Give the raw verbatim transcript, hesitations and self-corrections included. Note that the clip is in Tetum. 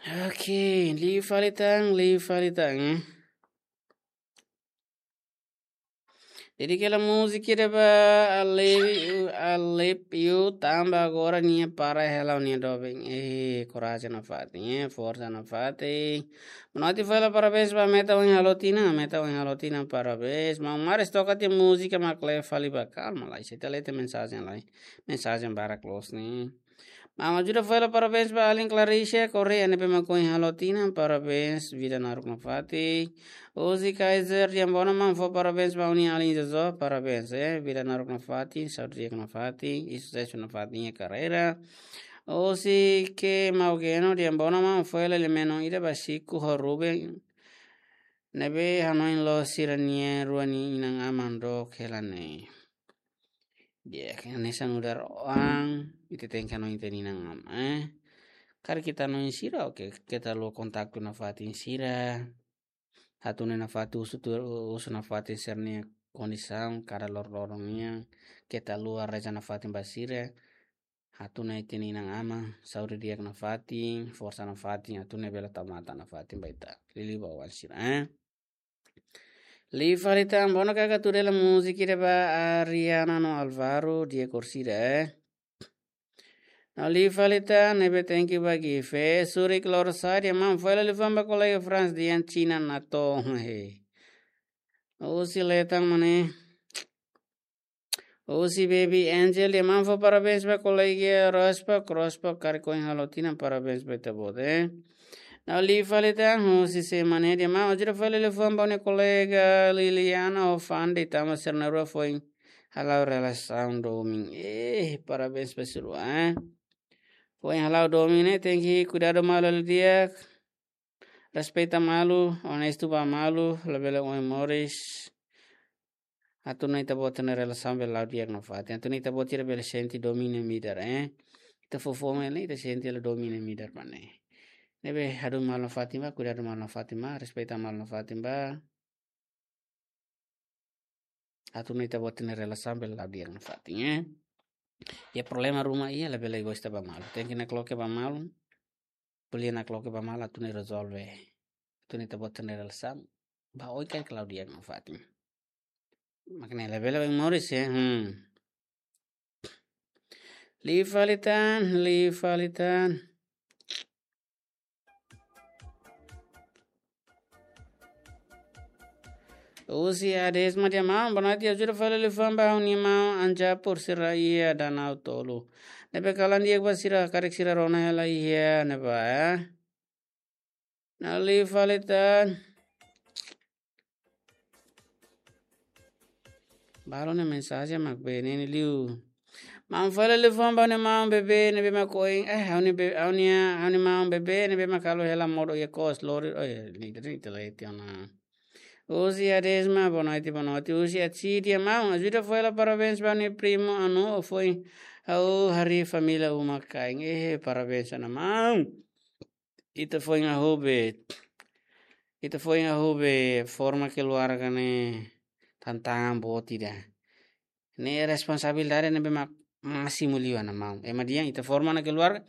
Oke, liu fali tan, liu fali tan. Dedika hela múzika ida ba Alepiu, Alepiu, tanba agora nia para hela nia doben. Eh, korajen nafatin, eh, forsa nafatin. Bonoite fó hela parabéns ba Meta ohin halo tinan, Meta ohin halo tinan, parabéns. Maun Maris toka tiha múzika mak lee fali ba, kalma lai, ita lee tiha mensajen lai. Mensajen barak loos ne'e. Maun Ajuda fó hela parabéns ba alin Claricia Correa ne'ebé mak ohin halo tinan, parabéns, vida naruk nafatin. Husi Kaiser Diambono maun fó parabéns ba ha'u-nia alin Jojo, parabéns, eh, vida naruk nafatin, saúde di'ak nafatin, i susesu nafatin iha karreira. Husi Kemau Geno Diambono maun fó hela lia-menon ida ba Siku ho Ruben ne'ebé hanoin loos sira-nia rua nia inan-aman dook hela ne'e. Di'ak, hanesan nu'udar oan, ita tenke hanoin ita-nia inan-aman, eh. Karik ita hanoin sira, oke, keta haluha kontaktu nafatin sira. Hatún nafatin, husu tuir, husu nafatin sira-nia kondisaun, kada loron-loron nian, keta haluha reza nafatin ba sira. Hatún ita-nia inan-aman, saúde di'ak nafatin, forsa nafatin, hatún bele tau matan nafatin ba ita. Liuliu ba oan sira, eh. Liu fali tan, bonoite kaka tuir hela múzika ida ba Ariana no Alvaro, di'ak orsida, eh. No liu fali tan, ne'ebé thank you ba Gife, Surik Lorosai, nia maun fó hela liafuan ba kolega Franz Dian China Nato, he. Husi Letan Mane. Husi Baby Angel, nia maun fó parabéns ba kolega Rospa, Rospa karik ohin halo tinan, parabéns ba ita-boot, eh. No liu fali tan, husi Semane, nia maun Ajuda fó hela liafuan ba ha'u-nia kolega Liliana ho Fandi, tanba sira na'in-rua foin hala'o relasaun domin. Eh, parabéns ba sira, eh. Foin hala'o domin ne'e, tenke kuidadu malu hela di'ak. Respeita malu, onestu ba malu, labele oin moris. Atu nune'e ita-boot nia relasaun bele la'o di'ak nafatin. Atu nune'e ita-boot sira bele sente domin iha midar, eh. Ita fó fome ne'e, ita sente hela domin iha midar ba ne'e. Ne'ebé hadomi malu nafatin ba, kuidadu malu nafatin ba, respeita malu nafatin ba. Atu nune'e ita-boot nia relasaun bele la'o di'ak nafatin, eh. Iha problema ruma iha, labele gosta ba malu. Tenke nakloke ba malu. Ko'alia nakloke ba malu atu nune'e rezolve. Atu nune'e ita-boot nia relasaun ba oin karik la'o di'ak nafatin. Mak ne'e labele oin moris, eh. Hmm. Liu fali tan, liu fali tan. Husi Adesma, nia maun, bonoite, Ajuda fó hela liafuan ba ha'u-nia maun Anja Pursira iha Danau Tolu. Ne'ebé kalan di'ak ba sira, karik sira rona hela iha ne'ebá, eh. No liu fali tan. Balu nia mensajen mak bee ne'e liu. Maun fó hela liafuan ba ha'u-nia maun Bebe ne'ebé mak oin, eh, ha'u-nia be-, ha'u-nia, ha'u-nia maun Bebe ne'ebé mak halo hela modo iha kos lori, oh, ya, ni tadi itu lah itu na. Husi Adesma, bonoite, bonoite. Husi Atsi, nia maun, Ajuda fó hela parabéns ba ha'u-nia primu Anu, foin ha'u harii família uma-kain. Eh, parabéns ona maun. Ita foin hahú be, ita foin hahú be forma keluarga ne'e tantangan boot ida. Ne'e responsabilidade ne'ebé mak másimu liu ona maun. Ema dehan ita forma ona keluarga,